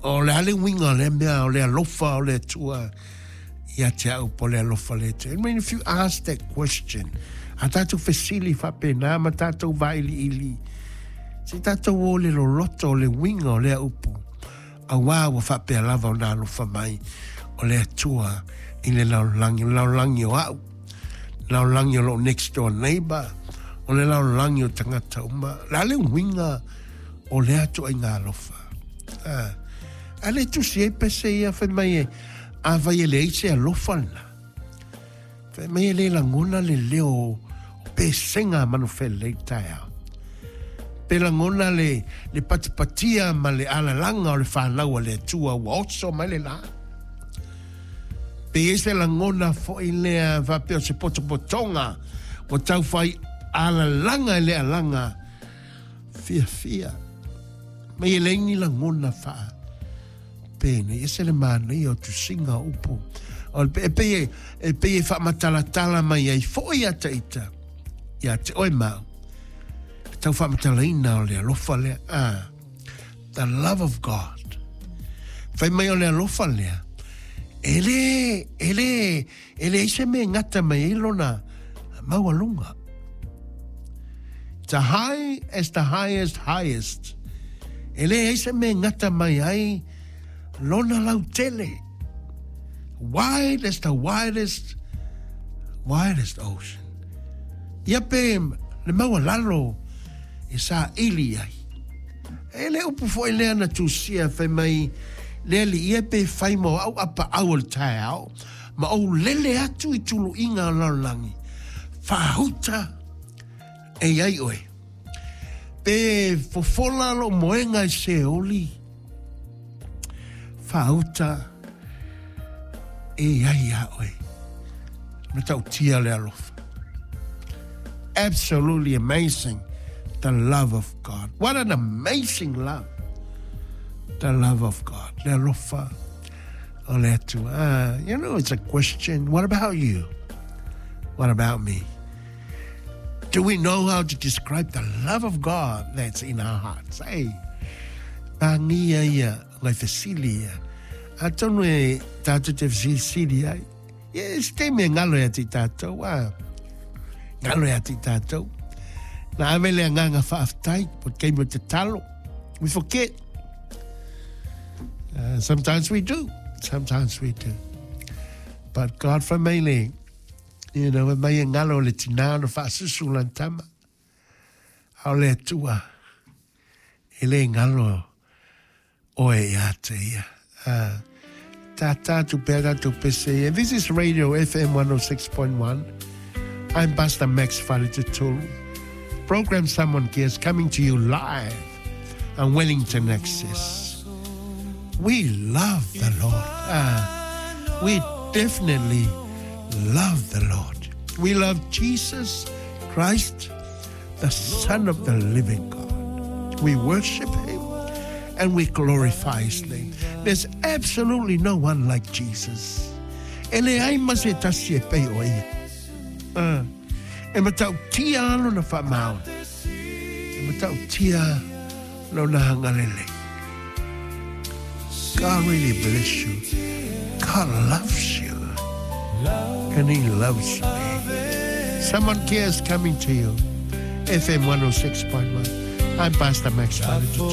O le a le uiga o lea mea o le alofa o le Atua ia te au po o le alofa o le Atua? I mean, if you ask that question, a tātou fesili faapena ma tātou vailiili, se i tātou o le loloto o le uiga o lea upu, auā ua faapea lava ona alofa mai o le Atua i le lalolagi, o le lalolagi o au, le lalolagi o lou next door neighbor, o le lalolagi o tagata uma. O le a le uiga o lea ituaiga alofa? A, a le tusi ai pese ia fai mai e, afai e leai se alofa lena. Fai mai e le lagona le leo o pesega a manufele i taeao. Pe lagona le, le patipatia ma le alalaga o le fanau a le Atua ua oso mai le la. Pe i ai se lagona foi lea faapea o se potopotoga ua tau fai alalaga i le alaga fiafia. Mai e leai ni lagona faa penei. Ese le manaia o tusiga o upu. O le, e pei e, e pei e faamatalatala mai ai foi ia te ita, ia te oe ma au. Le tau faamatalaina o le alofa lea. Ah, the love of God. Fai mai o le alofa lea, e le, e le, E leai se mea e gata mai ai lona maualuga. It's a high as the highest highest. E leai se mea e gata mai ai lona lautele. Wide as the widest, widest ocean. Ia pe le maualalo e saili ai. E le upu foi lea na tusia fai mai le alii e pe fai mo au apaau o le taeao ma ou lele atu i tuluiga o lalolagi, faahuta e i ai oe. Pe fofola lou moega i Seoli, faahuta e i ai iā oe. Matautia le alofa. Absolutely amazing the love of God. What an amazing love. The love of God. Le alofa o le Atua. Ah, you know, it's a question. What about you? What about me? Do we know how to describe the love of God that's in our hearts? Hey, pāngia ia, ngai fesili ia. Atonu e tātou te fesilisili ai. Ia, se taimi e ngalo ia te i tātou, a. Ngalo ia te i tātou. Na ave le agaga faafetai, po te taimi o te talo. We forget. Uh, sometimes we do. Sometimes we do. But God for me le, you know, e mai e ngalo le tinā na whaasusu lan tama. A o le Atua, e le ngalo oe ia te ia. Uh, tā tātou pea tātou pese ia. This is Radio FM 106.1. I'm Pastor Max Faletetolu. Program Someone Cares coming to you live on Wellington Access. We love the Lord. Uh, we definitely love the Lord. We love Jesus Christ, the Son of the living God. We worship him and we glorify his name. There's absolutely no one like Jesus. E leai ma se tasi e pei o ia. Uh, e matautia lona faamaoni. E matautia lona agalelei. God really bless you. God loves you. And he loves me. Someone cares coming to you. FM 106.1. I'm Pastor Max Faletetolu.